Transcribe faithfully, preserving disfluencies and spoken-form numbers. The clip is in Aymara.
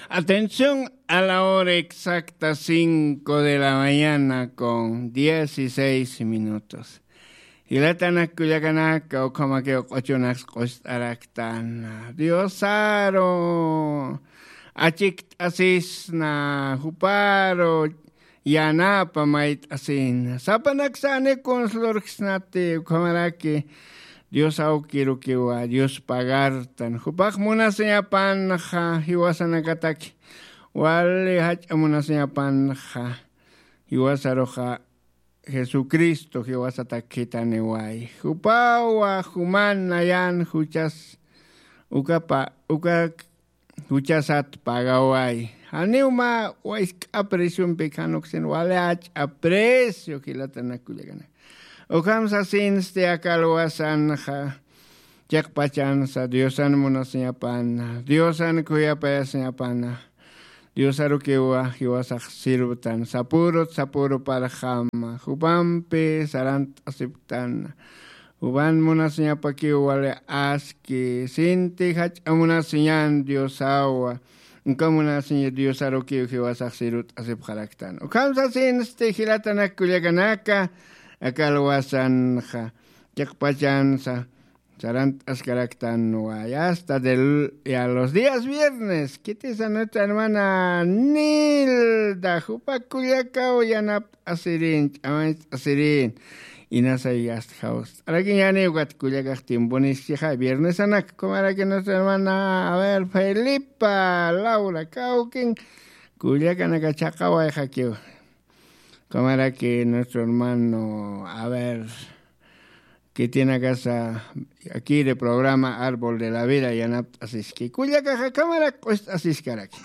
Atención, a la hora exacta, cinco de la mañana con dieciséis minutos. Jilatanak kullakanaka, ukhamakiw q'uchunak q'ust'araktan. Diosaru achikt'asisna, juparu yanapa mayt'asina. Sapanaksa anikun lurksnati, ukhamaraki Dios awkirukiwa, Dios pagartan. Jupax munasiñapanxa jiwasanakataki, wali jach'a munasiñapanxa jiwasaruxa Jesucristo jiwasatak khithaniway. Jupawa juman nayan juchas ukapa, uka juchasat pagaway. Janiw mä wask'a preciompi khanuksin, wali jach'a precio, jilatanak kullakanak. Ukham sasinsti aka alwasanxa, chiqpachansa Diosan munasiñapana, Diosan khuyapayasiñapana. Diosarukiwa jiwasax sirvtan, sapürut sapüruparxama, jupampi sarant'asipktana. Jupan munasiñapakiw wali aski, sinti jach'a munasiñan Diosawa, uka munasiñ Diosarukiw jiwasax sirvt'asipxaraktan. Ukham sasinsti jilatanak kullakanaka, aka alwasanxa, chiqpachansa, sarant'askaraktanwa, ya hasta del, ya los días viernes, khitisa nuestra hermana Nilda, jupa kullakaw yanapt'asirin, ch'amañt'asirin, inasay hasta jawst'arakiñani, ukat kullakax tiemponis chixa, viernesanak, ukhamaraki nuestra hermana, a ver, Felipa, Laura, kawkin, kullakanaka chhaqawayxakiw. Ukhamaraki nuestro hermano, a ver, khitinakasa, akiri programa Árbol de la Vida yanapt'asiski. Kullakaxa ukhamarak q'ust'asiskaraki.